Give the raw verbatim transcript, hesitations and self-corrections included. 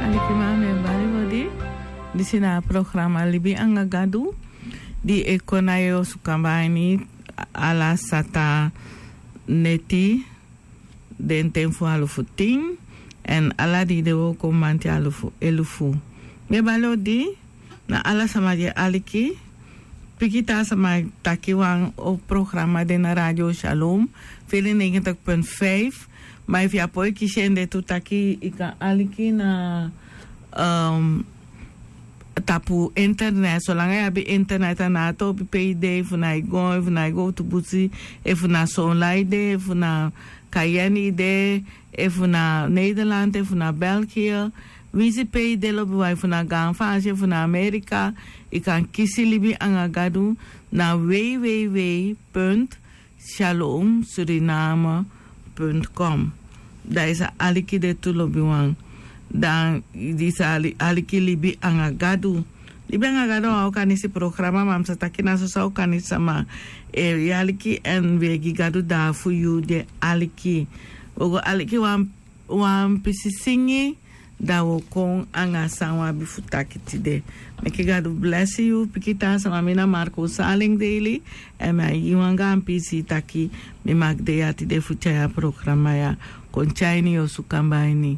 Alikiman, mi e bari odi. Disi na a programa Libi anga Gadu, di e kon na yu osu kaba ini ala sata neti, den ten fu alufu tin, èn ala dei de wooko manti alufu elufu. Mi e bari odi na ala sama di e aliki. Pikin taa sama e taki wan o programa de na Radio Shalom, vierennegentig punt vijf. Ma efu yu á poi kisi en de tu taki yu kan aliki na, ehm, tapu internet. Solanga yu abi internet, a no abi topi pe yu de, efu na yu go, efu na yu go tu busi, efu na Sonla yu de, efu na Cayenne yu de, efu na Nederland, efu na België, winsi pe yu de lobiwan, efu na Gaan Faansi, efu na Amerika, yu kan kisi Libi anga Gadu na www punt shalom suriname punt com. Dan yu sa aliki de tu, lobiwan. Dan yu sa ali-, aliki Libi anga Gadu. Libi anga Gadu a wan Okanisi programa, ma mi sa taki na soso Okanisi sama e aliki, èn wi e gi Gadu dati fu yu di e aliki. Wi o go aliki wan, wan pisi singi, dan wi o kon anga san wi abi fu taki tide. Meki Gadu blesi yu, pikin taa sama. Mi na Marco Saling Daily, èn mi e gi wan gaan pisi taki mi maki de ya tide fu tyai a programa ya kon tyai ini yu osu kaba ini.